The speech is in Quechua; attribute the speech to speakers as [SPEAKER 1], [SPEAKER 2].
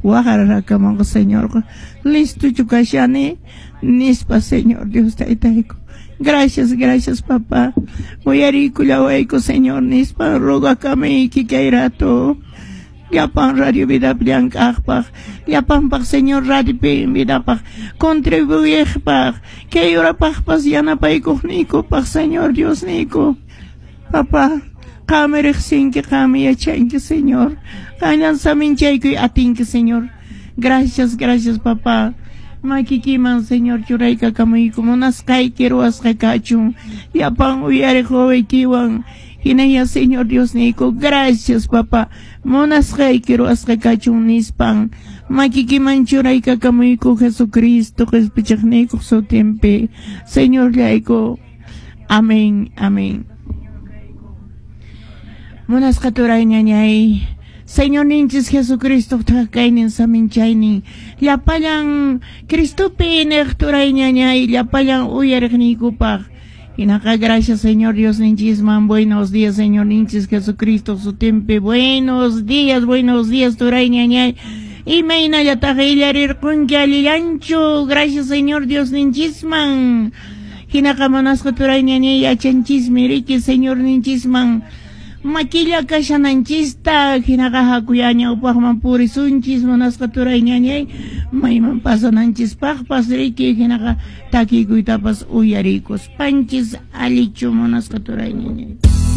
[SPEAKER 1] Waqararakamunqa Señorqa. Listochu kashani? Nispa Señor Dios Taytayku. Gracias, gracias, papá. Uyariykullawayku, Señor, nispa rogakamuyki kay rato. Llapan Radio Vidapi llank'aqpaq, llapanpaq Señor Radio Vidapaq contribuyejpaq, kay horapaqpas yanapaykuqniykupaq, Señor Diosniyku. Papá, qanmi riqsinki, qanmi yachanki, Señor. Qanllan saminchaykuy atinki, Señor. Gracias, gracias, papá. Makikiman, Señor, churaykakamuyku munasqayki ruwasqa kachun. Llapan uyariq wawaykiwan. Hinaya, Señor Diosniyku, gracias, papá. Munasqayki ruwasqa kachun nispan. Makikiman churaykakamuyku Jesucristo qespichiqniykuq sutinpi. Señorllayku. Amén, amén. Munasqa turay ñañay. Señorninchis Jesucristo kaynin saminchaynin. Llapallan Cristopi niq turay ñañay, llapallan uyariqniykupaq. Hinaqa gracias Señor Dios ninchisman. Buenos días Señor ninchis Jesucristo sutinpi. Buenos días turay ñañay. Imaynallataq illarirqunki allillanchu. Gracias Señor Dios ninchisman. Hinaqa munasqa turay ñañay yachanchismi riki Señor ninchisman. Makilla kashananchista hinaqa hakuya ñawpaqman purisunchis munasqa turay ñañay mayman pasananchispaqpas riki hinaqa takiykuytapas uyarikuspanchis allichu munasqa turay ñañay.